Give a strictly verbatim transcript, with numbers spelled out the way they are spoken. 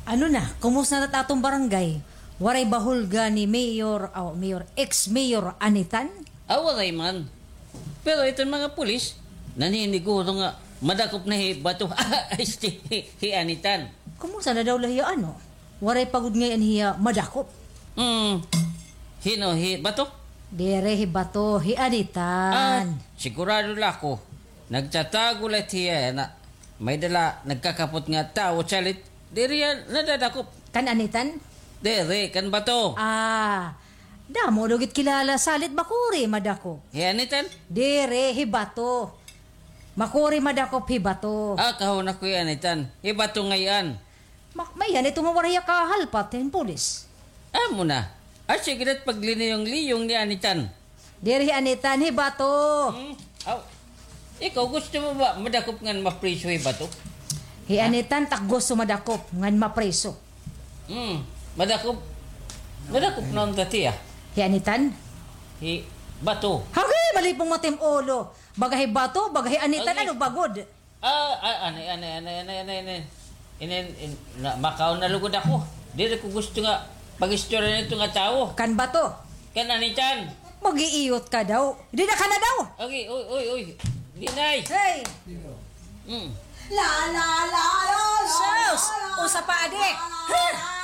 Ano na, kumusta na it aton barangay? Waray ba hulga ni Mayor, aw, Mayor, ex-Mayor Anitan? Ah, waray man. Pero iton mga pulis, naniniguro nga madakop na hi Bato. Este, hi, hi Anitan. Kumusta na daw la hiya, ano? Waray pa gud ngay-an hiya madakop. Hmm. Hin-o, hi Bato? Diri hi Bato, hi Anitan. Ah, sigurado la ako. Nagtatago la hiya, na may-ada la nagkakapot nga tawo, salit. Diri hiya nadadakop. Kan Anitan? Diri, kan Bato. Ah, damo daw gud kilala, salit makuri madakop. Hi Anitan? Diri, hi Bato. Makuri madakop hi Bato. Ah, kahuna ko hi Anitan. Hi Bato ngay-an. Ma-, may-ada ito nga waray hiya kahalpat hin pulis. Amo na. Ah, sige, dat pagliniyong-liyong ni Anitan. Diri hi Anitan, hi Bato. Hmm? Aw. Ikaw, gusto mo ba madakop ngan mapriso hi Bato? Hi Anitan, tak gusto madakop ngan mapriso. Hmm. Madakop. Madakop na unta hiya. Hi Anitan? Hi Bato. Hagi, malipong mata im ulo. Baga hi Bato, baga hi Anitan, ano ba gud? Ah, ah, ani, ani, ani. Inin, in, na, makaon na lugod ako. Diri ko gusto nga pag-istorya nito nga tawo. Kan Bato? Kan Anitan. Mag-iiyot ka daw. Di na ka na daw. Okay, oy, oy, oy. Dinay. Hey! Mm. La, la, la, la, la, sus! La, la, usa pa, adik. La, la, la, la.